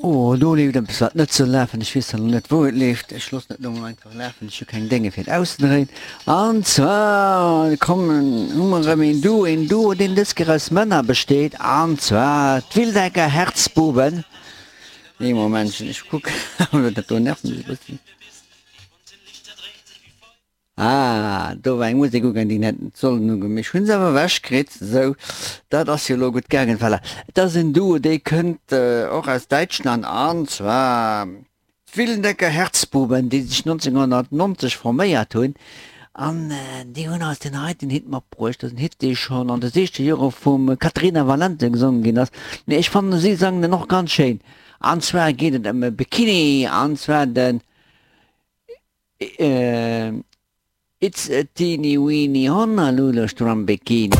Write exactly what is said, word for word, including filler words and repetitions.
Oh, do leeft eppes wat net soll lafen. Ech weess zwar net wou et leeft. Ech loossen et elo mol einfach lafen. Ech hu keng Dénge fir et auszedréien. An zwar kommen, hu mer erëm een Duo, een Duo deen dës Kéier aus Männer besteet, an zwar d'Wildecker Herzbuben. Ee Momentchen, ech kucken, dat do nervt mech e bëssen. Ah, do war eng Musek ugaang, déi hätt net sollen ugoen, mee ech hunn se awer ewech kritt. Sou, dat ass jo elo gutt gaangen. Voilà, et ass en Duo, dee kënnt och aus Däitschland, an zwar d'Willendecker Herzbuben, déi sech nonzénghonnertnonzeg forméiert hunn, an déi hunn eis deen heiten Hit matbruecht. Dat ass en Hit, dee schonn an de siechzeger Jore vum Caterina Valente gesongen ginn ass, mee ech fannen, si sangen en och ganz schéin. An zwar geet et ëm e Bikini, an zwar den. It's a teeny weeny Honolulu Strand Bikini.